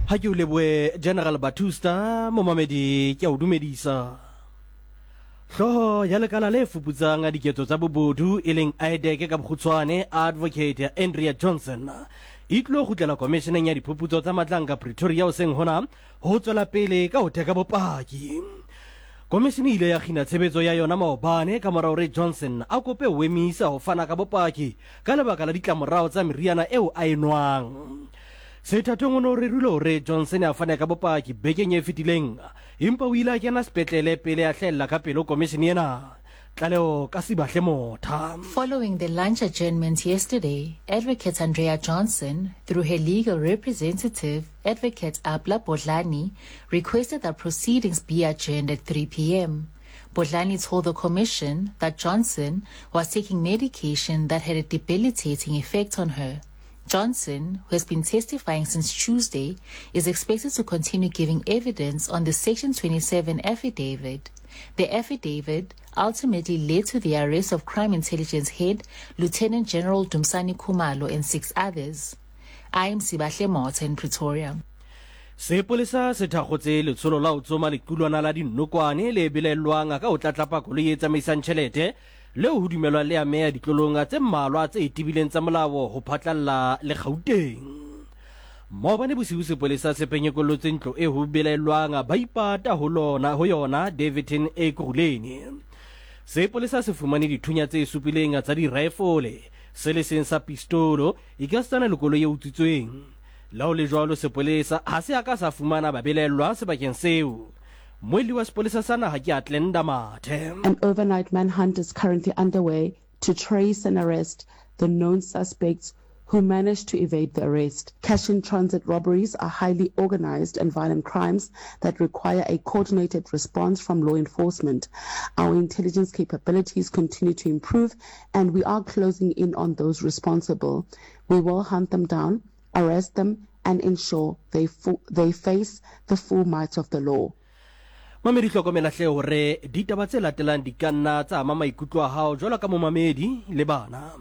Ha ke o lebohe General Batusta, momamedi ke a o dumedisa. Hlooho ya lekala le fuputsang diketso tsa bobodu e leng IDAC ka bokgutshwane, Advocate Andrea Johnson, e tlilo kgutlela komisheneng ya diphuputso tsa matlanka Pretoria hoseng hona ho tswela pele ka ho theka bopaki. Komishene e ile ya kgina tshebetso ya yona maobane ka mora hore Johnson a kope ho emisa ho fana ka bopaki ka lebaka la ditlamorao tsa meriana eo a e nwang. Sethathong o ne o rerilwe hore Johnson a fane ka bopaki bekeng e fetileng, empa o ile a kena sepetlele pele a hlahella ka pele ho komishene ena. Tlaleho ka Sibahle Motha. Following the lunch adjournment yesterday, Advocate Andrea Johnson, through her legal representative, Advocate Abla Bodlani, requested that proceedings be adjourned at 3 p.m. Bodlani told the commission that Johnson was taking medication that had a debilitating effect on her. Johnson, who has been testifying since Tuesday, is expected to continue giving evidence on the Section 27 affidavit. The affidavit ultimately led to the arrest of Crime Intelligence head Lieutenant General Dumsani Kumalo and six others. I am Sibahle Motha in Pretoria. Sepolesa se thakgotse letsholo la ho tsoma lequlwana la dinokwane le belaellwang ka ho tlatlapa koloi e tsamaisang tjhelete leo ho dumelwang le ameha ditlolong tse mmalwa tse tebileng tsa molao ho phatlalla le Gauteng. Maobane bosiu sepolesa se penyekollotse ntlo e ho belaellwang ba ipata ho lona ho yona Daveyton Ekurhuleni. Sepolesa se fumane dithunya tse supileng tsa diraefole, se le seng sa pistolo, ekasitana le koloi e utswitsweng. Le ha ho le jwalo sepolesa ha se a ka sa fumana babelaellwa sebakeng seo. Mmuelli wa sepolesa sa naha ke Atlenda Mathe. An overnight manhunt is currently underway to trace and arrest the known suspects who managed to evade the arrest. Cash-in-transit robberies are highly organized and violent crimes that require a coordinated response from law enforcement. Our intelligence capabilities continue to improve and we are closing in on those responsible. We will hunt them down, arrest them and ensure they, they face the full might of the law. Mamedi hlokomela hle hore ditaba tse latelang di ka nna tsa ama maikutlo a hao jwalo ka momamedi le bana.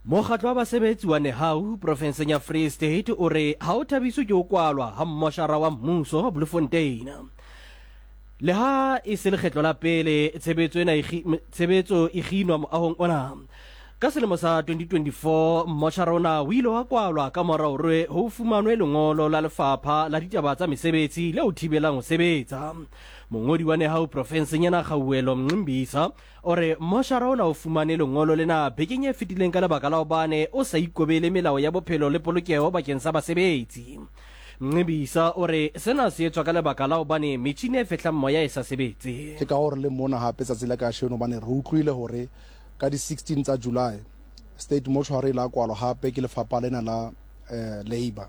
Mokgatlo wa basebetsi wa Nehau profenseng ya Free State o re ha o thabiswe ke ho kwalwa ha mmoshara wa mmuso Bloemfontein. Le ha e se lekgetlo la pele tshebetso ena e tshebetso e kginwa moahong ona. Ka selemo sa 2024, mmoshara ona o ile wa kwalwa ka mora hore ho fumanwe lengolo la lefapha la ditaba tsa mesebetsi le o thibelang ho sebetsa. Mongodi wa Nehau profenseng ena Kgauwelo Mncimbisa o re mmoshara ona o fumane lengolo lena bekeng e fetileng ka lebaka la hobane o sa ikobele melao ya bophelo le polokeho bakeng sa basebetsi. Mncibisa o re sena se etswa ka lebaka la hobane metjhini e fehlang moya e sa sebetse. Ke ka hoo re leng mona hape tsatsi la kasheno hobane re utlwile hore ka di 16 tsa July State Mortuary e la kwalwa hape ke lefapha lena la Labour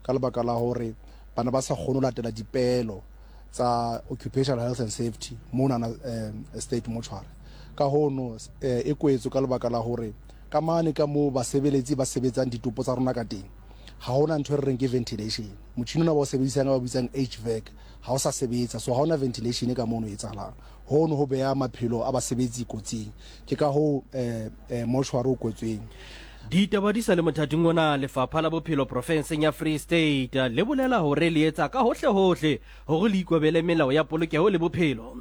ka lebaka la hore ba ne ba sa kgone ho latela dipeelo tsa Occupational Health and Safety monana State Mortuary. Ka hono e kwetswe ka lebaka la hore ka mane ka moo basebeletsi ba sebetsang ditopo tsa rona ka teng ga hona ntho e re reng ke ventilation. Motšhini ona ba o sebedisang ba bitsang HVAC ga o sa sebetsa, so ga ona ventilation ka mono e etsahalang. Hono ho beha maphelo a basebetsi kotsing. Ke ka hoo mortuary o kwetsweng. Ditaba di sa le mothating ona, Lefapha la Bophelo profenseng ya Free State le bolela hore le etsa ka hohle-hohle hore le ikobele melao ya polokeho le bophelo.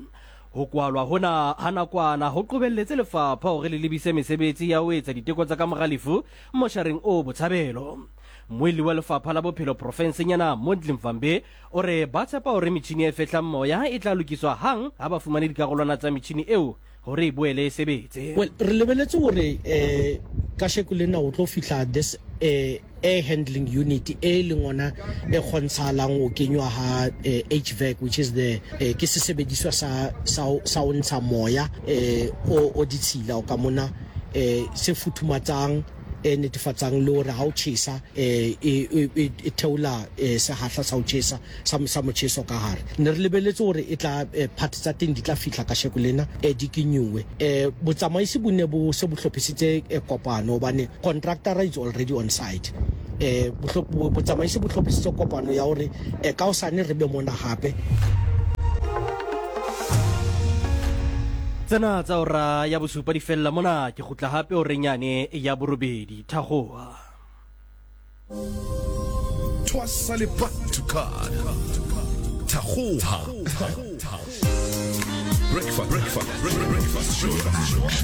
Ho kwalwa hona ha nakwana ho qobelletse lefapha hore le lebise mesebetsi ya ho etsa diteko tsa kamora lefu moshareng o Botshabelo. Mmuelli wa Lefapha la Bophelo profenseng ena, Mondli Mvambi, o re ba tshepa hore metjhini e fehlang moya e tla lokiswa hang ha ba fumane dikarolwana tsa metjhini eo hore e boele e sebetse. Well, re lebeletse hore eh kasheko lena o tlo fihla this eh air handling unit e leng ona e kgontshahalang ho kenywa ha eh, HVAC which is the eh, ke sesebediswa sa sa sa ho ntsha moya eh o o ditshila o ka mona eh se futhumatsang e netefatsang le hore ha o tjhesa eh, e, e, e, e theola eh, sehahla sa ho tjhesa sa, sa motjheso ka hare. Ne re lebeletse hore e tla eh, part tsa teng di tla fihla kasheko lena eh, di kenyuwe. Eh, botsamaisi bo ne bo se bo hlophisitse eh, kopano hobane contractor is already on site. Eh, botsamaisi bo hlophisitse kopano ya hore eh, ka hosane re be mona hape. Tsena tsa ora ya bosupa di fella mona, ke kgutla hape horeng yane ya borobedi. Thakgoha. Thwasa le Bantu Card. Thakgoha. Breakfast, breakfast, breakfast show.